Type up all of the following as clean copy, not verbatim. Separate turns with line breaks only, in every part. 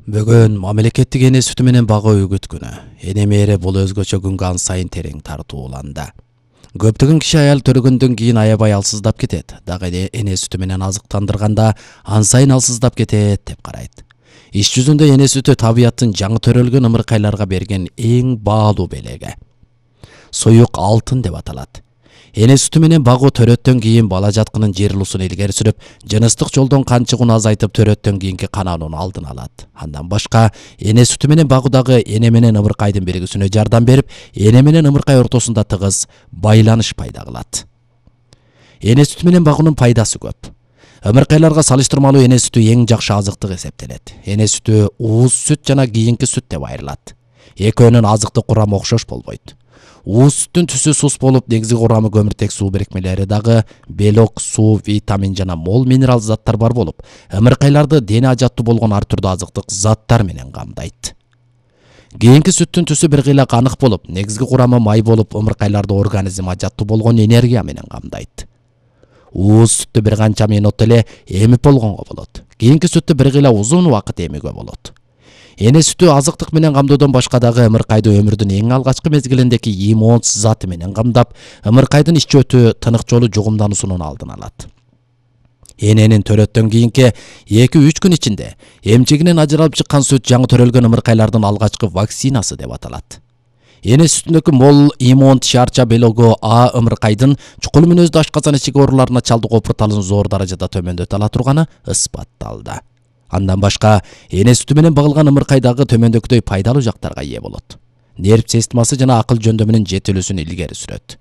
Бүгүн мамлекеттик эне сүтү менен багуу үгүт күнү. Эне мээри бул өзгөчө күнгө ан сайын терең тартууланды. Көптөгөн киши аял төрөгөндөн кийин аябай алсыздап кетет. Дагы эне сүтү менен азыктандырганда ан сайын алсыздап кетет деп карайт. Иш жүзүндө эне сүтү табияттын жаңы төрөлгөн ымыркайларга берген эң баалуу белеги. Суюк алтын деп аталат. Эне сүтү менен багуу төрөттөн кийин бала жаткынын жыйырылуусун илгери сүрүп, жыныстык жолдон кан чыгууну азайтып төрөттөн кийинки канаанын алдын алат. Андан башка эне сүтү менен багуудагы эне менен ымыркайдын биригүүсүнө жардам берип, эне менен ымыркай ортосунда тыгыз байланыш пайда кылат. Эне сүтү менен багуунун пайдасы көп. Ымыркайларга салыштырмалуу эне сүтү эң жакшы азыктык эсептелет. Эне сүтү ууз сүт жана кийинки сүт деп айрылат. Экөөнүн азыктык курамы окшош болбойт. Ууз сүттүн түсү сус болуп, негизги курамы көмүртек суу бирикмелери дагы белок, суу, витамин жана мол минерал заттар бар болуп, ымыркайларды дене ажаттуу болгон ар түрдүү азыктык заттар менен камдайт. Кийинки сүттүн түсү бир кыйла канык болуп, негизги курамы май болуп, ымыркайларды организм ажаттуу болгон энергия менен камдайт. Ууз сүттү бир канча минут эле эмип болгонго болот. Кийинки сүттү бир кыйла узун убакыт эмүүгө болот. Эне сүтү азыктык менен камдоодон башка дагы ымыркайды өмүрдүн эң алгачкы мезгилиндеги иммунс заты менен камдап, ымыркайдын ич өтү тынык жолу жугумдануусунун алдын алат. Эненин төрөттөн кийинки 2-3 күн ичинде эмчегинен ажыралып чыккан сүт жаңы төрөлгөн ымыркайлардын алгачкы вакцинасы деп аталат. Эне сүтүндөгү мол иммунт шаарча белогу А ымыркайдын чукул мүнөздүү ашказан ичиги ооруларына чалдыгуу оптурталын зор даражада төмөндөтө ала турганы ысбатталды. Андан башка эне сүтү менен багылган ымыркайдагы төмөндөгүдөй пайдалуу жактарга ээ болот. Нерв системасы жана акыл жөндөмүнүн жетилүүсүн илгери сүрөт.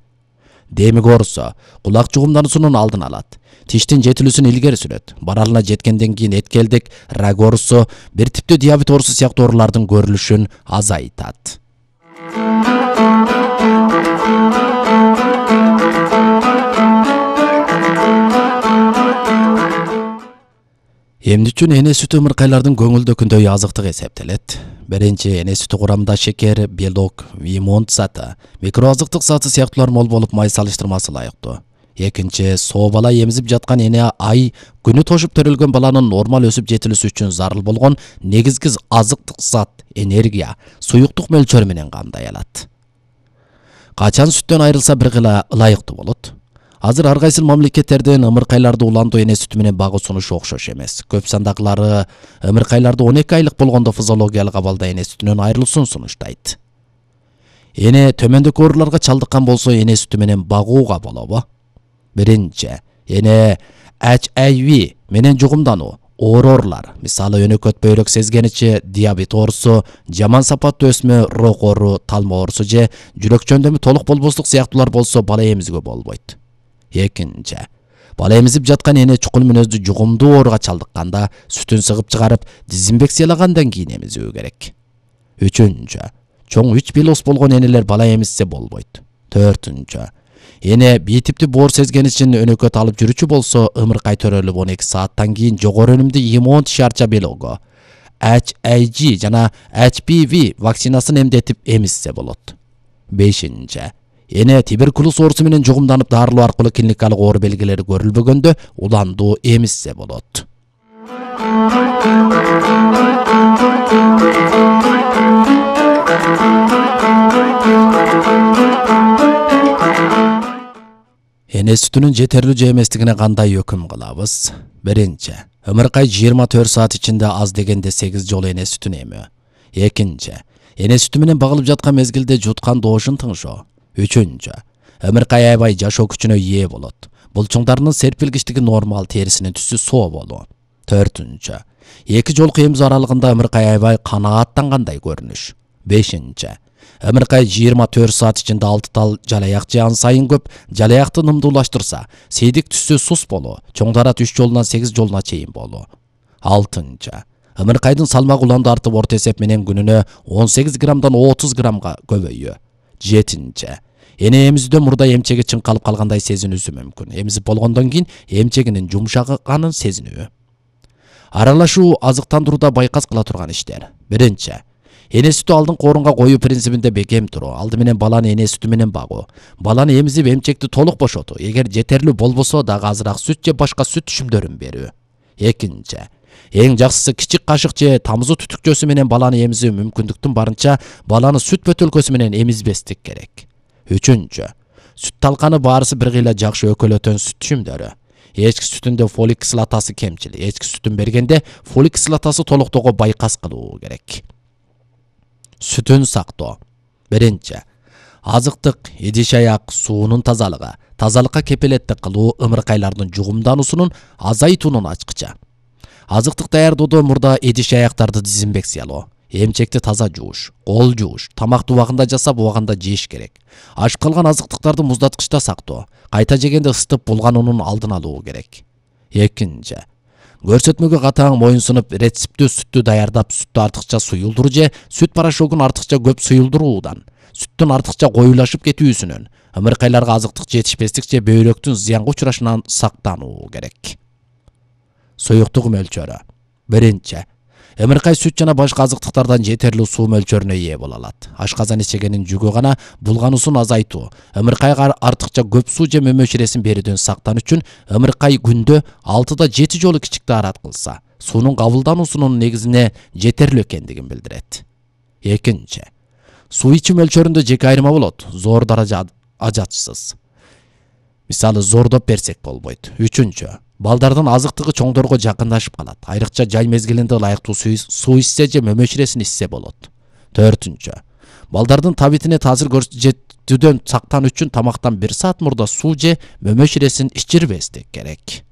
Демик оорусу кулак жугумдануусунун алдын алат. Тиштин жетилүүсүн илгери сүрөт. Баралына жеткенден кийин эткелдик, рак оорусу, бир типтүү диабет оорусу сыяктуу оорулардын көрүлүшүн азайтат. Эмне үчүн эне сүтү ымыркайлардын көңүлдөкүндөй азыктык эсептелет? Биринчи, эне сүтү курамында шекер, белок, иммунт заты, микроазыктык заты сыяктуулар мол болуп, май салыштырмасы ылайыктуу. Экинчи, соо бала эмизип жаткан эне ай күнү тошуп төрөлгөн баланын нормал өсүп жетилүүсү үчүн зарыл болгон негизги азыктык зат, энергия, суюктук мөлчөрү менен камдай алат. Качан сүттөн айрылса бир кыйла ылайыктуу болот. Азыр ар кайсы мамлекеттерден ымыркайларды уландуу эне сүтү менен багуу сунушу окшош эмес. Көп сандагылары ымыркайларды 12 айлык болгондо физиологиялык абалда эне сүтүнөн айрылуусун сунуштайт. Эне төмөндөгү ооруларга чалдыккан болсо эне сүтү менен багууга болобу? Биринчи, эне HIV менен жугумдануу, оорулар, мисалы өнөкөт бөйрөк сезгеничи, диабет оорусу, жаман сапаттуу өсмө, рок оору, талма оорусу же жүрөк жөндөмү толук болбостук сыяктуулар болсо бала эмизүүгө болбойт. Экинчи, бала эмизип жаткан эне чукул мүнөздүү жугумдуу ооруга чалдыкканда сүтүн сыгып чыгарып, дезинфекциялагандан кийин эмизүү керек. Үчүнчү, чоң 3 белос болгон энелер бала эмизсе болбойт. Төртүнчү, эне B типтүү боор сезгеничин өнөкөт алып жүрүүчү болсо, ымыркай төрөлүп 12 сааттан кийин жогору өнүмдүү иммунт шаарча белогу, HIG жана HPV вакцинасын эмдетип эмизсе болот. Бешинчи, эне туберкулоз оорусу менен жугумданып дарылоо аркылуу клиникалык оору белгилери көрүлбөгөндө уландуу эмизсе болот. Эне сүтүнүн жетерлүү же эместигине кандай өкүм кылабыз? Биринчи, ымыркай 24 саат ичинде аз дегенде 8 жолу эне сүтүн эмүү. Экинчи, эне сүтү менен багылып жаткан мезгилде жуткан доошун тыңшоо. Үчүнчү, ымыркай аябай жашоо күчүнө ээ болот. Булчуңдарынын серпилгичтиги нормал, терисинин түсү соо болуу. Төртүнчү, 2 жолку эмизүү аралыгында ымыркай аябай канааттангандай көрүнүш. Бешинчи, ымыркай 24 саат ичинде 6 тал жалаяк же ан сайын көп жалаякты нымдуулаштырса, сейдик түсү сус болуу, чоңдарат 3 жолунан 8 жолуна чейин болуу. Алтынчы, ымыркайдын салмагы уланды артып орто эсеп менен күнүнө 18 граммдан 30 граммга көбөйүү. Жетинчи, эне эмизүүдөн мурда эмчеги чыңкалып калгандай сезинүүсү мүмкүн. Эмизип болгондон кийин эмчегинин жумшаганын сезинүү. Аралашуу азыктандырууда байкас кыла турган иштер. Биринчи, эне сүтү алдыңкы орунга коюу принцибинде бекем туруу. Алды менен баланы эне сүтү менен багуу. Баланы эмизип эмчекти толук бошотуу. Эгер жетерлүү болбосо дагы азыраак сүт же башка сүт түшүмдөрүн берүү. Экинчи, Эң жакшысы кичик кашык же тамызы түтүкчөсү менен баланы эмизүү мүмкүндүктүн барынча баланы сүт бөтөлкөсү менен эмизбестик керек. 3. Сүт талканы баарысы бир кыйла жакшы өкөлөтөн сүт түшүмдөрү. Эчки сүтүндө фолик кислотасы кемчил. Эчки сүтүн бергенде фолик кислотасы толуктоого байкас кылуу керек. Сүтүн сактоо. 1. Азыктык, идиш-аяк суунун тазалыгы, тазалыкка кепилеттик кылуу ымыркайлардын жугумдануусунун азайтуунун ачкычы. Азыктык даярдоодо мурда идиш-аяктарды дезинфекциялоо, эмчекти таза жууш, кол жууш, тамакты убагында жасап убагында жеш керек. Ашып калган азыктыктарды муздаткычта сактоо, кайта жегенде ысытып булгануунун алдын алуу керек. 2. Көрсөтмөгө катаң моюнсунуп рецептүү сүттү даярдап, сүттү артыкча суюлдуруу же сүт порошогун артыкча көп суюлдуруудан, сүттүн артыкча коюлашып кетүүсүнөн, ымыркайларга азыктык жетишпестик же бөйрөктүн зыянга учурашынан сактануу керек. Суюктук мөлчөрү. 1. Ымыркай сүт жана башка азыктыктардан жетерлүү суу мөлчөрүнө ээ боло алат. Ашказан ичегенин жүгү гана булгануусун азайтуу, ымыркайга артыкча көп суу же мөмөчүресин берүүдөн сактан үчүн ымыркай күндө 6-7 жолу кичик даарат кылса, суунун кабылдануусунун негизине жетерлүү экендигин билдирет. 2. Суу ичүү мөлчөрүндө жеке айырма болот. Зор даража ажатсыз. Мисалы, зордоп берсек болбойт. 3. Балдардын азыктыгы чоңдорго жакындашып калат. Айрыкча жай мезгилинде ылайыктуу суу ичсе же мөмөчүресин ичсе болот. 4. Балдардын табитине таасир көрсөтүүдөн сактан үчүн тамактан 1 саат мурда суу же мөмөчүресин ичирбестик керек.